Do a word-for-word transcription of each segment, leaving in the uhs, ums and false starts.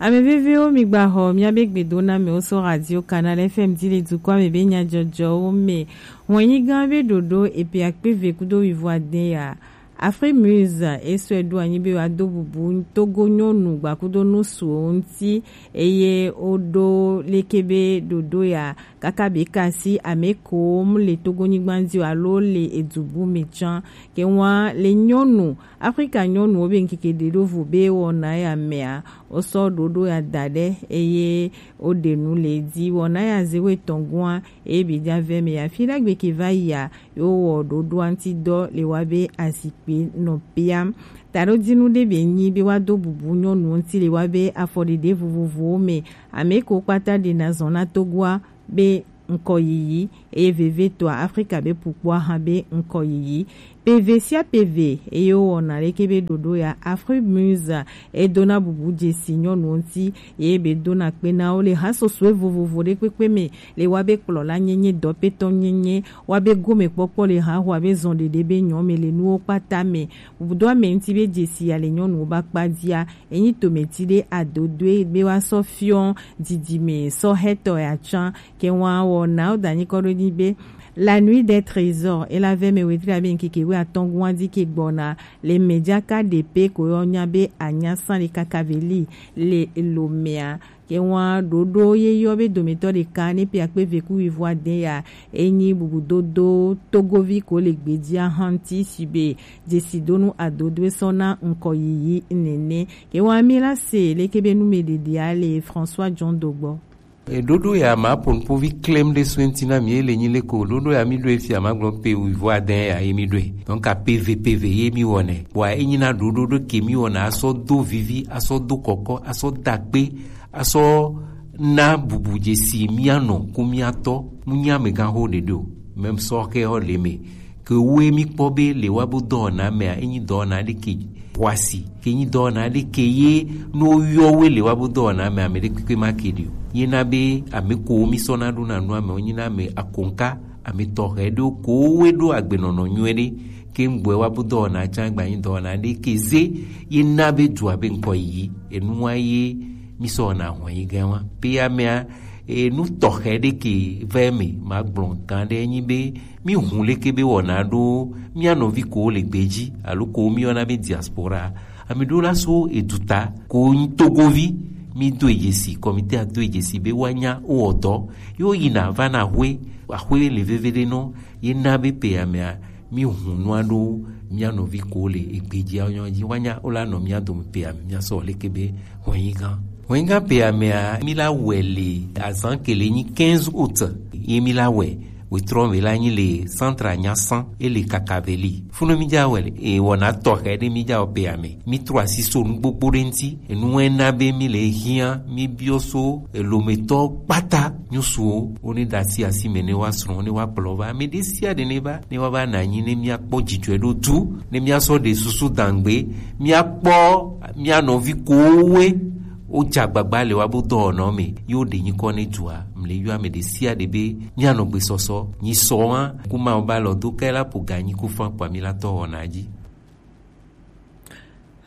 Ame vevewo, mi gba xɔ miabe gbedonamewo so Radio Canal F M di le dukɔa me be nyajɔjɔwo me. Hɔnyigã be ɖoɖo epe akpe eve kudo wivo ade ya. Afrique Muse e sɔe ɖo anyi be woado bubu Togo nyɔnu gbakudonu suwo ŋuti, eye woɖo leke be ɖoɖo ya kaka be kasi ame kowo mu le Togo nyigba dzi o alo le edu bu me tsã. Ke ŋua le nyɔnu Afrika nyɔnuwo be ŋkeke ɖe ɖo vo be wɔna ya mea, wosɔ ɖoɖo ya da ɖe eye woɖe nu le edzi. Wɔna ya ze woetɔn gɔa eye be ɖa vɛ me ya fi ɖagbe ke va yia, ye wowɔ ɖoɖoa ŋuti dɔ le wa be azikpe nɔ piam. Taɖodinu ɖe be nyi be woado bubu nyɔnuwo ŋuti le wa be afɔɖeɖe vovovowo me. Ame ko kpata ɖena zɔn na Togoa be ŋkɔyiyi, eye vevietɔa Afrika be pukpoa hã be ŋkɔyiyi. Peve sia peve eye wowɔna leke be ɖoɖo ya, Afrique Muse edona bubu dzesi nyɔnuwo ŋuti, eye be dona kpe na wo le hasɔsɔe vovovo ɖe kpekpe me, le wa be kplɔla nyenye, dɔpetɔ nyenye, wa be gomekpɔkpɔ le haho abe zɔn ɖeɖe be nyɔ me le nuwo kpata me. Bubudo ame ŋuti be dzesi ya le nyɔnuwo ba kpa dzia, enyi tometi ɖe adodoe be wa sɔ fiɔ didime sɔ hetɔ ya tsã. Ke ŋua wɔna wo da nyikɔ ɖo nyi be La Nuit des Trésors, e la vɛ me wetri abe ŋkeke wuiatɔn gɔa di ke gbɔna le mejaka ɖe pe ko yɔ nya be anya san le kakaveli le lomea. Ke ŋua ɖoɖo ye yɔ be dometɔ ɖeka ne pe akpe ve ku wivo ade ya, enyi bubudodo Togovi ko le gbedzia hã ŋuti si be dzesidonu adodoe sɔ na ŋkɔyiyi nene. Ke ŋua mi la se leke be numeɖeɖea le François John Dogbɔ. Eɖoɖo ya ma ƒo nuƒovi klem ɖe so ŋuti na mi, ele nyi le ko ɖoɖo ya mi ɖo efia ma gblɔ pe wivo ade ya ye mi ɖoe. Donc a peve peve ye mi wɔnɛ. Bɔa enyi na ɖoɖo ɖo ke mi wɔna asɔ do vivi, asɔ do kɔkɔ, asɔ dakpe, asɔ na bubu dzesi mia nɔ ku mia tɔ, mu nya me gan ho ɖeɖe o. Même sɔ ke ho le me. Ke woe mi kpɔ be le wa bo dɔwɔna mea, enyi dɔwɔna ɖe ke xɔasi, ke nyi dɔwɔna ɖe ke ye no yɔ woe le wa bo dɔwɔna mea, ame ɖe kpekpe ma ke ɖi o. Ye na be ame ko mi sɔ na ɖo na nua me, wonyi na ame akonka, ame tɔxɛ ɖewo ko woe ɖo agbenɔnɔ nyuie ɖe, ke ŋgbɔe wa bo dɔwɔna tsã gba nyi dɔwɔna ɖe ke ze, ye na be dua be ŋkɔ yiyi, enua ye mi sɔ na hɔn yi gɛ wa. Pe amea, e, nu tɔxɛ ɖe ke vɛ me, ma gblɔ gan ɖe nyi be, mi hun leke be wɔna ɖo mia nɔvi ko le gbedzi, alo ko mi yɔna be diaspora. Ame ɖewo la so eduta, ko nyi Togovi, mi do edzesi, kɔmite a do edzesi be woanya wowɔ dɔ. Yo yina va na axwe, axwe le veve ɖe nɔ, ye na be pe amea, mi hun nua ɖo mia nɔvi ko le egbedzia nyɔ dzi, woanya wola nɔ mia dome pe ame mia sɔ leke be hɔnyi gã. Hɔnyi gã pe amea, mi la wɛ le azan ke le nyi quinze août, ye mi la wɛ. Wetrɔ me la nyi le centre Anyasan, e le Kakaveli. Funu mi dza wɛ le, e wɔna tɔxɛ ɖe mi dza wɔ pe ame. Mi trɔ asi so nu gbogbo ɖe ŋuti. Enu wɛ na be mi le hiã, mi biɔ so elometɔ kpata nyusuwo, wo ne ɖe asi asi me ne wa srɔ̃, ne wa kplɔ va. Ame ɖe sia ɖe ne va, ne wa va na anyi, ne mia kpɔ dzidzɔe ɖo tu, ne mia sɔ ɖe susu dangbe, mia kpɔ mia nɔvi kowoe. Wo dza gbagba le wa bo dɔwɔnɔ me, yo ɖe nyikɔ ne dua, mle yɔ ame ɖe sia ɖe be mia nɔ gbesɔsɔ, nyi sɔ wa, ku ma wo ba lɔ do ke la po ga nyi ku fan kpa mi la tɔ wɔna dzi.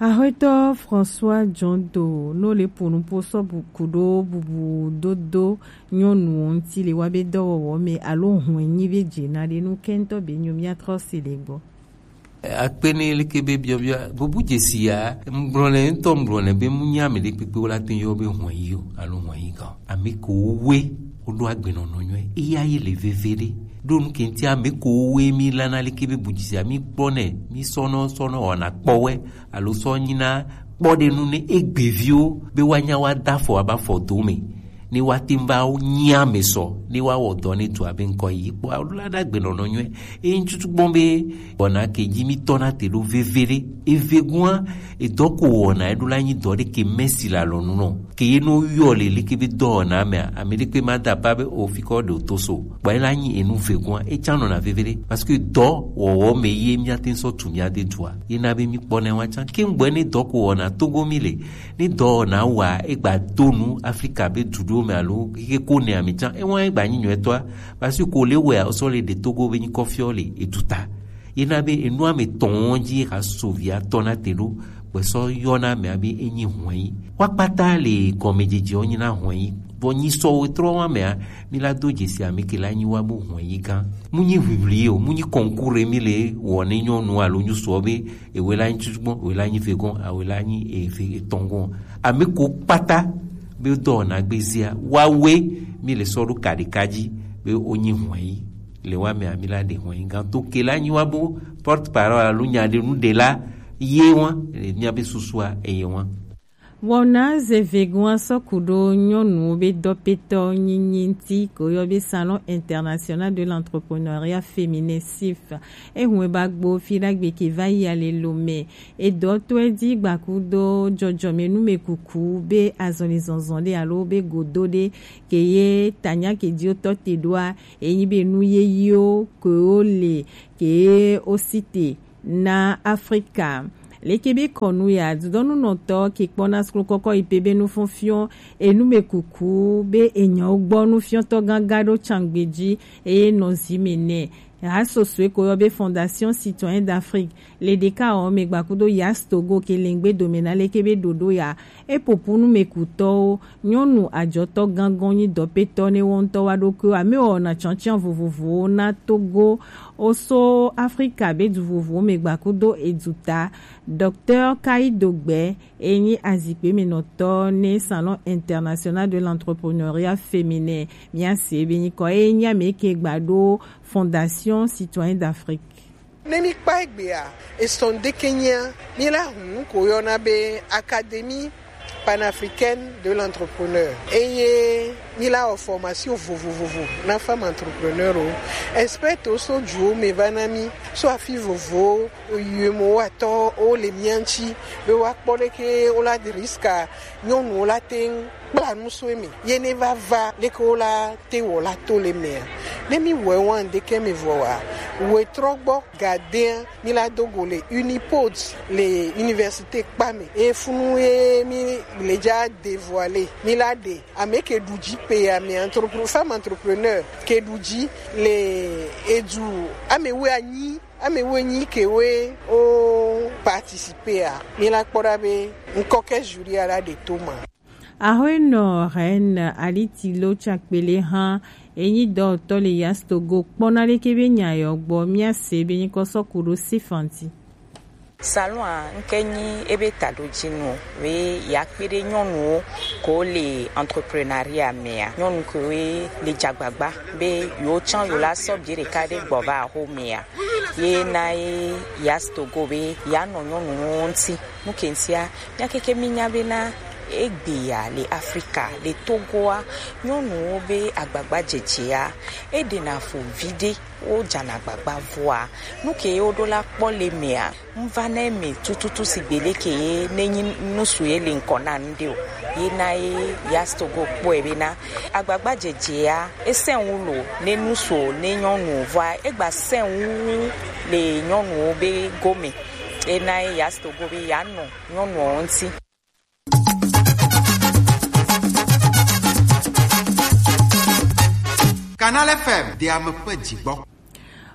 Axwetɔ François John Do no le ƒo nuƒo sɔ bu-, ku ɖo bubudodo nyɔnuwo ŋuti le wa be dɔwɔwɔ me alo hɔn nyi be dze na ɖe nu kɛntɔ be nyo mia trɔ si le gbɔ. Akpe ne leke be biɔbiɔ bubu dzesi ya, ŋgblɔ nɛ ŋutɔ, ŋgblɔ nɛ be mu nya ame ɖe kpekpe wo la te yɔ be hɔn yi o alo hɔn yi gã. Ame ko woe woɖo agbenɔnɔ nyuie, eya ye le veve ɖe. Ɖo nu ke ŋuti ame ko woe mi lana leke be bu dzesi ya, mi kpɔ nɛ, mi sɔnɔ, sɔnɔ wɔna kpɔwɛ, alo sɔ nyina kpɔɖenu ne egbeviwo be woanya woada afɔ aba fɔ do me, ne woate ŋu va nyi ame sɔ, ne woawɔ dɔ ne dua be ŋkɔ yi kpɔ alo la ɖe agbenɔnɔ nyuie. Eye ŋtutu gbɔn be wɔna ke dzi mi tɔna te ɖo veve ɖe. Eve gua, edɔ ko wɔna eɖo la nyi dɔ ɖe ke mɛsi le alɔnu nɔ. Ke ye no yɔ le leke be dɔwɔna mea, ame ɖe kpe ma da pa be o fi kɔ ɖe o to so. Kpɔ ela nyi enu vegua, etsa nɔna veve ɖe. Parce que dɔ wɔwɔ me ye mia te sɔ tu mia de dua. Ye na be mi kpɔ ne wa tsa. Ke ŋgbɔ ne dɔ ko wɔna Togo mi le. Ne dɔ wɔna wa egba do nu Afrika be du ɖewo me alo ke ko ne ami tsa. Ewa egba nyi nyuie tɔa. Parce que ko le wɛ o sɔ le ɖe Togo be nyi kɔfiɔ le eduta. Ye na be enua me tɔn dzi ka so via tɔna te ɖo. Wesɔ yɔna mea be enyi hwɛyi. Wa kpata le gɔmejejeɔ nyina hwɛyi. Vɔ nyi sɔ wetrɔ wa mea, mi la do jesi ame ke la nyi wa bo hwɛyi gã. Mu nyi ʋiʋli o, mu nyi kɔnkure mi le wɔ ne nyɔnu alo nyusuɔ be ewe la nyi tutugbɔn, ewe la nyi vegɔn, awe la nyi eve etɔngɔn. Ame ko kpata be dɔ na gbezia, wa we mi le sɔ ɖo kaɖeka ji be o nyi hwɛyi. Le wa mea mi la ɖe hwɛyi gã to ke la nyi wa bo porte parole alo nyaɖenuɖela ye wa le miabe susua eye wa. Wɔna zevegua sɔku ɖo nyɔnuwo be dɔpetɔ nyinyi ŋuti ko yɔ be Salon International de l'Entrepreneuriat Féminin, sif. Ehun e ba gbo fi ɖagbe ke va yi ale lo mɛ. Edɔ to edi gbakudo jɔjɔme nume kuku be azɔli zɔnzɔn ɖe alo be godo ɖe ke ye tanya ke di o tɔ te ɖoa, enyi be nu ye yiwo ke wo le ke ye o si te na Afrika. Leke be kɔnu ya dudɔnunɔtɔ ke kpɔna suklu kɔkɔ yi pe be nufɔnfiɔ enume kuku be enyawo gbɔ nufiɔtɔ ganga ɖo cangbe ji eye nɔ zi me nɛ. Ha sosoe ko yɔ be Fondation Citoyen d'Afrique le ɖeka ɔ me gbakudo Yas Togo ke lengbe dome na leke be ɖoɖo ya. Epopu numekutɔwo, nyɔnu ajɔtɔ gangɔn nyi dɔpetɔ ne wɔ ŋutɔ wa ɖokuiwo ame wɔna tsɔntsian vovovowo na Togo, oso Afrika be du vovovowo me gbakudo eduta. Docteur Kaido Gbɛ, enyi azikpemenɔtɔ ne Salon International de l'Entrepreneuriat Féminin, miase be nyikɔ enyi ame ke gba ɖo Fondation Citoyen d'Afrique. Ne mi kpa egbea, esɔn ɖeke nyia, mi la hun ko yɔna be Académie Panafricaine de l'Entrepreneur. Eye mi la wɔ formation vovovovo na femme entrepreneur o. Expert o so juwo me va na mi so afi vovo, yue mo wa tɔ o le mia ŋuti be wa kpɔ ɖeke o la de risque nyɔnuwo la te ŋu kpla nu so eme ye ne va va leke wo la te wɔ la to le mea. Ne mi wɔ wan ɖeke me vɔ wa, wetrɔ gbɔ gadea mi la do go le Unipod le université kpa me. E funu ye mi le ja dévoiler mi la de ame ke ɖu ji pe ya me entrepreneur, femme entrepreneur ke ɖu ji le edu ame we anyi ame we nyi ke we o participer a mi la kpɔ ɖa be ŋkɔ ke jury a la ɖe to ma. Ahoenɔ Reine Alitilo Tsakpele hã enyi dɔwɔtɔ le Yas Togo kpɔna ɖeke be nya yɔ gbɔ miase be nyikɔ sɔ ku ɖo Sifanti. Salon a ŋke nyi ebe taɖojinu be yakpe ɖe nyɔnuwo ko le entrepreneuriat mea. Nyɔnu kewoe le dzagbagba be yewo tsã yewo la sɔ bie ɖeka ɖe gbɔ va axo mea. Ye na ye Yas Togo be yeanɔ nyɔnuwo ŋuti. Nu ke ŋutia, mía keke mínya bena egbea le Afrika, le Togoa, nyɔnuwo be agbagbadzedzea, eɖena fu viɖe, wodzana agbagba vɔa. Nu ke ye woɖo la kpɔ le mea, ŋva na eme tututu sigbe leke ye nenyi nu su ye le ŋkɔ na nu ɖe o. Ye na ye Yas Togo kpɔe bena, agbagba dzedzea, esɛnwu lo, ne nu so, ne nyɔnu vɔa, egba sɛnwu le nyɔnuwo be gome. Ye na ye Yas Togo be yeanɔ nyɔnuwo ŋuti. Canal F M, de ame ƒe dzigbɔ.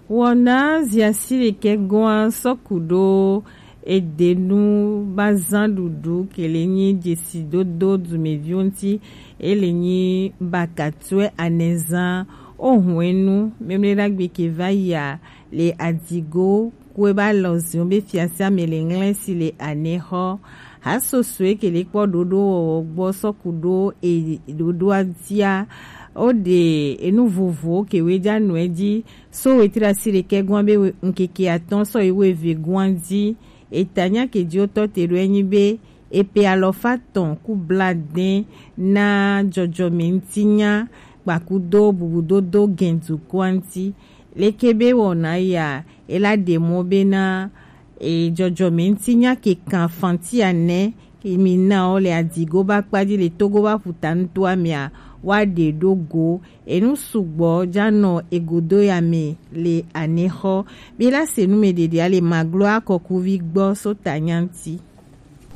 Wɔna ziasi ɖekɛ gɔa sɔku ɖo edenu bazã ɖuɖu ke le nyi dzesidodo dumeviwo ŋuti, ele nyi bakatue anɛzã ohun enu memle ɖagbe ke va yia le adigo kue ba lɔ zion be fiasia me le ŋlɛ si le anɛ xɔ. Hasosoe ke le kpɔ ɖoɖo wɔwɔ gbɔ sɔku ɖo e ɖoɖoa dia. O ɖe enu vovowo ke we ja nɔe ji. So wetri asi ɖekɛ gɔn be ŋkeke atɔ̃ sɔ yi wuieve gɔn ji. Eta nya ke ji wotɔ te ɖo enyi be epe alɔfa tɔn ku bladɛn na jɔjɔme ŋutinya kpakudo bubudodo gɛndu kɔa ŋuti. Leke be wɔna ya ela ɖe mɔ bena e jɔjɔme ŋutinya ke kan fanti anɛ ke mi na o le adigo ba kpaji le Togo ba ƒuta ŋutoa mea wa ɖe ɖo go. Enu sugbɔ ja nɔ egodo ya me le anexɔ. Bi la se nu me ɖeɖea le maglo akɔkuvi gbɔ so tanya ŋuti.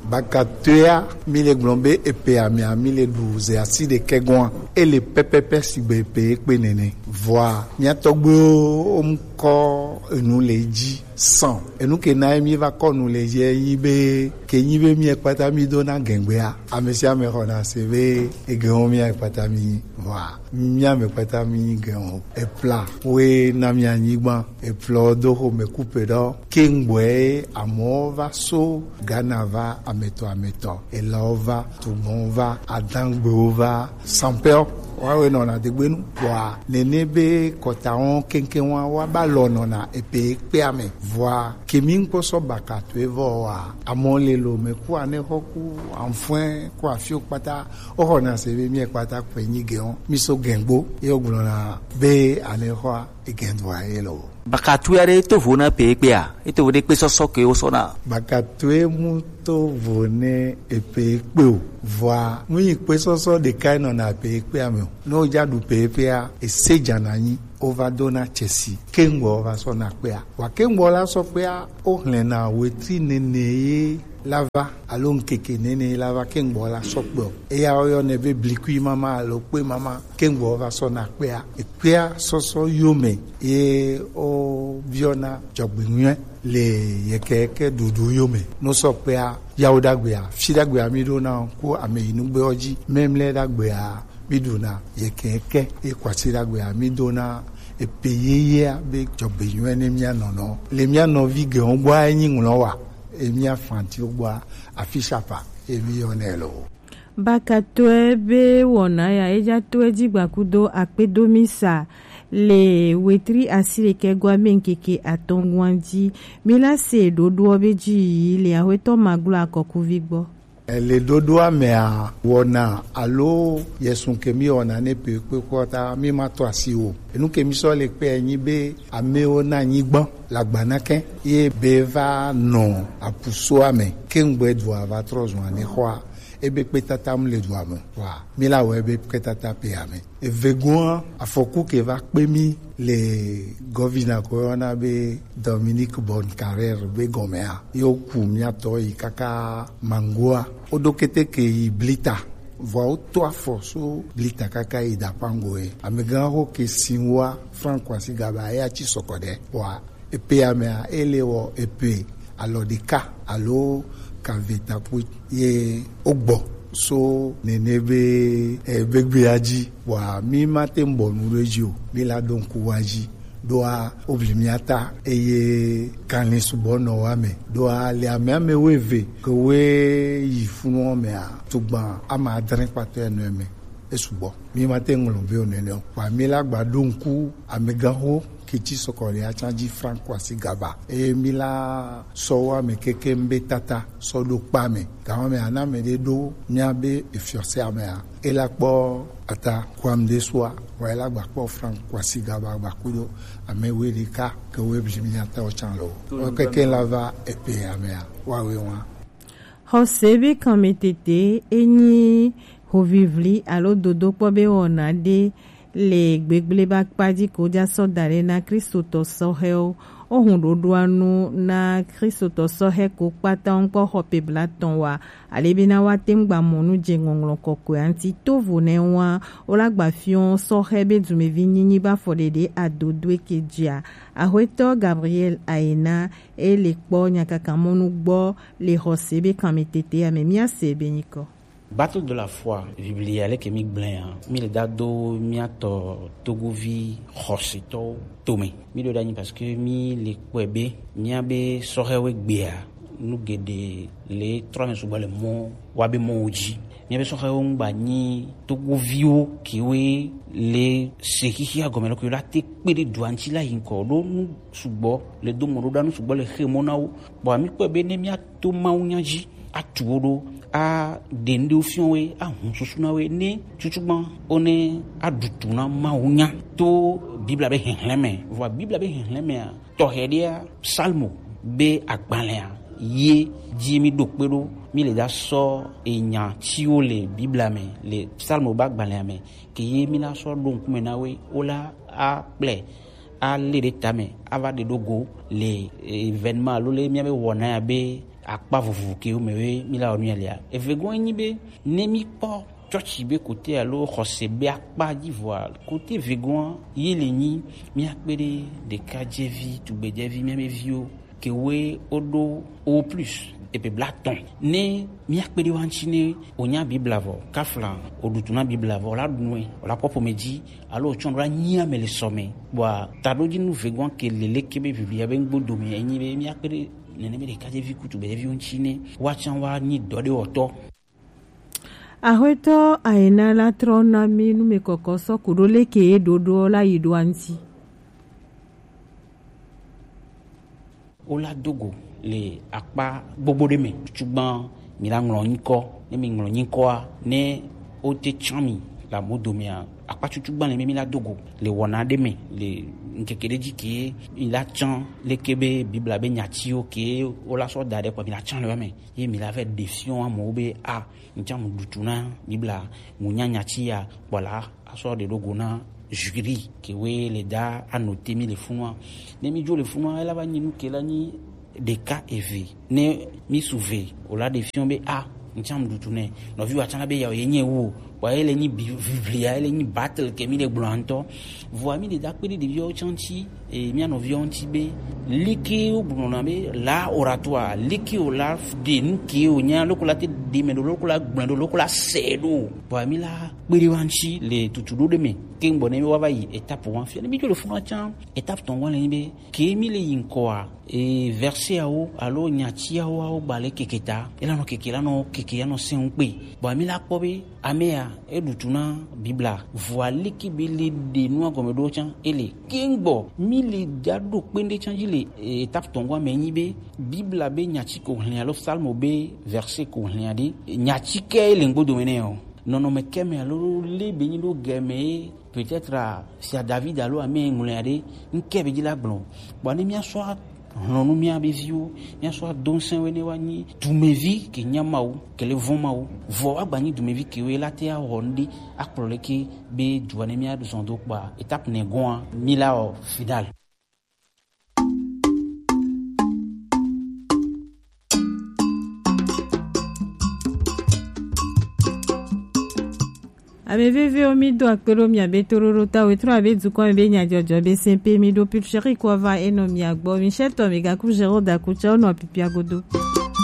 Bakatoea mi le gblɔ be epe amea mi le ɖu ze asi ɖekɛ gɔa. Ele pɛpɛpɛ sigbe epe ekpe nene. Vɔa, mía tɔgbuiwo wo mu kɔ enu le ji sɔn. Enu ke na ye mi va kɔ nu le ji ye nyi be, ke nyi be mía kpata mi do na gɛngbea, ame sia ame xɔna se be egɛnwo mía kpata mi nyi. Vɔa, mía me kpata mi nyi gɛnwo. Epla we na mía nyigban, eplɔ do xo me kupe ɖɔ. Kengboe amewo va so Ghana va ametɔ ametɔ, elawo va, tugbɔn va, adangbewo va, sanpɛɔ, woawoe nɔna degbenu. Vɔa nene be kɔta wɔn keŋkeŋ wa, wa ba lɔ nɔna epe kpea me. Vɔa kemi ŋkpɔ sɔ baka to evɔ wa, amɔ le lo me ku ane xɔ ku anfɔɛ ku afio kpata, o xɔna se be mi kpata kpe nyi gɛn o, mi so gɛngbo, ye o gblɔna be ane xɔa egɛn do aye lo. Bakatui aɖe to vo na pe kpea, eto vo ɖe kpe sɔsɔ ke wo sɔna. Bakatui mu to vo ne epe kpe o. Vɔa, mu yi kpe sɔsɔ ɖeka nɔna pe kpea me o. Ne o ja ɖu pe kpea, ese jana nyi, o va do na Chelsea. Kengbo o va sɔ na kpea. Wa kengbo la sɔ kpea, o hlɛna wetri nene ye la va, alo ŋkeke nene ye la va, kengbo la sɔ kpe o. Eya o yɔ ne be blikui mama alo kpe mama. Kengbo va sɔ na kpea, ekpea sɔsɔ yome ye o biɔna jɔgbenyuie le yekeke ɖuɖu yome. No sɔ kpea, yawo ɖagbea, fi ɖagbea mi ɖo na ku ame yi nugbe o ji, memle ɖagbea mi ɖu na yekeke, ye kwasi ɖagbea mi ɖo na epe yeyea be jɔgbenyuie ne mía nɔnɔ. Le mía nɔvi gɛwo gbɔa enyi ŋlɔ wa, e mía fantiwo gbɔa afisapa, e mi yɔ nɛ lo. Bakatɔe be wɔna ya eja tɔe ji gbakudo akpedo mi sa le wetri asi ɖekɛ gɔa mi ŋkeke atɔngɔn ji. Mi la se ɖoɖoɔ be ji yi le ahwetɔ maglo akɔkuvi gbɔ. Le ɖoɖoa mea, wɔna alo yesun ke mi wɔna ne pe kpe kpɔta mi ma tɔ asi o. Enu ke mi sɔ le kpe nyi be amewo na nyigban la gbana kɛ ye be va nɔ apusoa me. Kengbe dua va trɔ zun ane xɔa. Ebe kpetata mu le dua me. Wa, mi la wɔ ebe kpetata pe ame. Evegoa, afɔku ke va kpe mi le gɔvina ko yɔna be Dominique Boncarrère be gɔmea. Yo ku mia tɔ yi kaka mangoa. O do keteke yi blita. Vɔa o to afɔ so blita kaka yi da pango e. Amegã ho ke sinwa Frank Kwasi Gaba ya ci sɔkɔ ɖe. Wa, epe amea, ele wɔ epe alɔ ɖeka alo kave takpui ye o gbɔ so nene be, e, begbea ji. Wa mi ma te bɔ nu ɖe ji o, mi la ɖo ŋku wa ji. Ɖoa o bli mia ta eye kanlin subɔ nɔ wa me. Ɖoa le ame ame wo eve ke wo yi funu mea, tugban ama adre kpatɔ nɔ me. Esugbɔ. Mi ma te ŋlɔ be o nene o. Wa mi la gba ɖo ŋku amegãxo ke ci sɔkɔ le atsa ji Frank Kwasi Gaba. Eye mi la sɔ wa me keke be tata sɔ ɖo kpa me. Gawa me ana me ɖe ɖo mia be efiɔse amea. E la kpɔ ata kuam de sua. Wa e la gba kpɔ Frank Kwasi Gaba gba kudo ame we ɖeka ke we bli mi ata o tsan lo. O keke la va epe amea. Wa we wa. Xɔse be kanmetete enyi hovivli alo dodokpɔ be wɔna ɖe le gbegbleba kpa ji ko ja sɔ da ɖe na Kristotɔ sɔhɛwo. Wo hun ɖoɖoa nu na Kristotɔ sɔhɛ ko kpata ŋkɔ xɔ pe blatɔn wa, ale be na wa te ŋu gba mɔ nu je ŋɔŋlɔ kɔkɔe ŋuti. To vo nɛ wa, wo la gba fiɔ sɔhɛ be dumevi nyinyi ba fɔ ɖeɖe adodoe ke jia. Axwetɔ Gabriel Ayena e le kpɔ nyakakamɔnu gbɔ le xɔse be kanmetete ya me. Mia se be nyikɔ. Battle de la foi, Biblia leke mi gblẽ ya, mi le da do mia tɔ togovi xɔsetɔwo tome. Mi ɖo ɖe anyi parce que mi le kpɔe be mia be sɔhɛwo gbea nu geɖe le trɔ me sugbɔ le mɔ wa be mɔwo ji. Mia be sɔhɛwo ŋgba nyi togoviwo kewoe le se xixia gɔme lɔ ke la te kpe ɖe dua ŋuti la yi ŋkɔ ɖo nu sugbɔ le do mɔ ɖo ɖa nu sugbɔ le xe mɔ na wo. Kpɔ mi kpɔe be ne mia to Mawu nya dzi, atu wo ɖo, aɖe ŋɖewo fiɔ wo, ahun susu na wo, ne tutugbã wo ne aɖu tu na Mawu nya to Biblia be hihlẽ me. Vɔa Biblia be hihlẽ mea, tɔxɛ ɖea, Psalmo be agbalẽa ye dzi mi ɖo kpe ɖo, mi le da sɔ enya ciwo le Biblia me, le Psalmo be agbalẽa me, ke ye mi la sɔ ɖo ŋkume na wo, wo la akplɛ ale ɖe tame ava ɖe ɖo go le événement alo le mia be wɔna ya be akpa vovovo ke wo me we mi la wɔ nu ya lia. Eve gɔ̃ enyi be ne mi kpɔ Tsɔtsi be kote alo xɔse be akpa dzi vɔa, kote vegoa ye le nyi, míakpe ɖe ɖekadzevi, tugbedzevi, míabe viwo kewoe woɖo o plus epe blatɔn. Ne míakpe ɖe wa ŋuti ne wònya Biblia vɔ, kafla wòɖu tu na Biblia vɔ, wòla ɖu nue, wòla kpɔ ƒome dzi, alo wòtsɔ ɖo la nyi ame le sɔ me. Kpɔa taɖodzinu vegoa ke le leke be Biblia be ŋgbo dome enyi be míakpe ɖe nene be ɖekadzevi kutu be ɖeviwo ŋuti ne woatsã woanyi dɔ ɖe wɔtɔ. Axwetɔ Aina la trɔ na mi numekɔkɔ sɔ ku ɖo leke ye ɖoɖo la yi ɖo anti. Wola do go le akpa gbogbo ɖe me. Tutugbã mi la ŋlɔ nyikɔ. Ne mi ŋlɔ nyikɔa, ne wote tsã mi le amo domea, akpa tutugbã le mi mi la do go le wɔna ɖe me le ŋkeke ɖe dzi ke mi la tsã leke be Biblia be nyatiwo ke wola sɔ da ɖe kpɔ mi la tsã le wa me. Ye mi la vɛ ɖe fiɔ amewo be a ŋtsã mu ɖutu na Biblia, mu nya nyati ya kpɔ la asɔ ɖe ɖo go na juri ke we le da anote mi le funua. Ne mi dzo le funua, ela va nyi nu ke la nyi ɖeka eve. Ne mi su ve, o la ɖe fiɔ be a ŋtsã mu ɖutu nɛ. Nɔvi wa tsã la be ya ye nye wo. Wa ele nyi bi-, Biblia, ele nyi battle ke mi le gblɔ ŋutɔ. Vɔa mi le da kpe ɖe ɖeviwo tsã ŋuti, e, mía nɔviwo ŋuti be, leke wogblɔna be la oratoire, leke wòla ɖe nu ke wònya, loko la te ɖe me ɖo, loko la gblɔe ɖo, loko la sɛ ɖo. Vɔa mi la kpe ɖe wa ŋuti le tutu ɖo ɖe me. Ke ŋgbɔ ne mi wa va yi étape wa fia. Ne mi dzo le funua tsã, étape tɔn wa le nyi be, ke mi le yi ŋkɔa, e, verset awo alo nyati awo awo gba le keke ta, ela nɔ keke la nɔ keke ya nɔ sɛn kpe. Vɔa mi la kpɔ be, Amea, eɖu tu na Biblia. Vɔa leke be le ɖe nua gɔme ɖo tsã, ele. Ke ŋgbɔ mi le da ɖo kpe ɖe tsã dzi le, e, étape tɔn gɔa me nyi be Biblia be nyati ko hlẽ alo Psalmo be verset ko hlẽ ɖe, nyati ke le ŋgbo dome nɛ o. Nɔnɔme ke me alo le be nyi ɖo gɛme ye peut-être, ah, sia David alo ame ŋlɔe ɖe ŋke be dzi la gblɔ. Kpɔ ne mía sɔ hlɔnu mía be viwo, mía sɔ do ŋsɛ we ne wa nyi dumevi ke nya Mawu, ke le vɔn Mawu. Vɔ wa gba nyi dumevi ke we la te awɔ ŋɖe akplɔ leke be dua ne mía zɔn do kpa étape ne gɔa mi la o final. Ame veviwo, mi do akpe ɖo mia be toɖoɖo ta wetrɔ abe dukɔ me be nyadzɔdzɔ be sɛnpe mi ɖo pulcheri kɔ va enɔ mia gbɔ. Mi sɛtɔ mi gaku zero daku tsa wonɔ pipia godo.